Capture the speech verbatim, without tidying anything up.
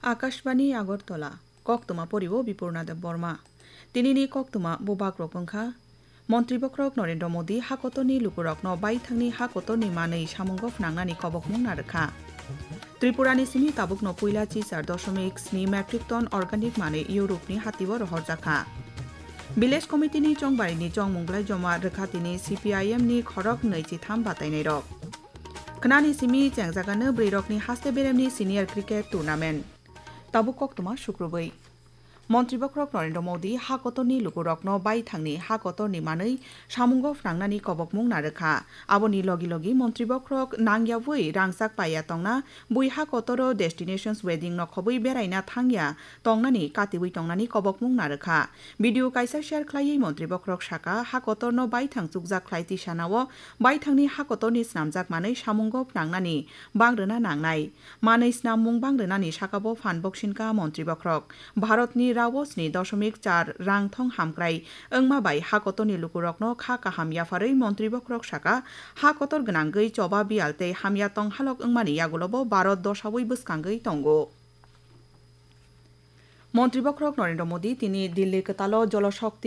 Akashbani Agartala, koktwma poribo Bipurna Debbarma. Tinini koktwma bubagrok wngkha, Montri Bokhorok Narendra Modi hakotorni lukurokno baithangni hakotorni manwi samungo phnangnani kobokmung narwkha. Tripurani simi tabukno puila chi char doshomik sni metric ton organic manwi Europe-ni hatio rohorjakha. Village Committee-ni chongbarini chongmung belai joma rwkha tini C P I M-ni khorok nwi chi tham batainairok. Khnani simi chengjagano bwrwirokni haste beremni senior cricket tournament. Tabuk koktwma sukrubwi. Montri Bokhorok Narendra Modi hakotorni lukurokno baithangni hakotorni manwi samungo phnangnani kobokmung narwkha. Aboni logi logi Montri Bokhorok nangyawi rangchak paiya tongna, bui hakotoro destinations wedding nokhobwi beraina thangya tongnani katiwi tongnani kobokmung narwkha. Video kaisa share khlaiwi Montri Bokhorok saka, hakotorno baithang chukjak khlai tisanao baithangni hakotorni snamjak manwi samungo phnangnani bangrwna nangnai. Manwi snammung bangrwnani sakabo phan boksinka Montri Bokhorok. Bharatni rao sni doshomik char rang thong hamkrai wngma bai hakotorni lukurokno kha kaham yapharwi Montri Bokhorok saka, hakotor gwnangwi choba biyal tei hamya tonghalok wngmani yagulobo Bharat dosawi bwskangwi tongo. Montri Bokhorok Narendra Modi tini Delhi kwtalo Jol Shakti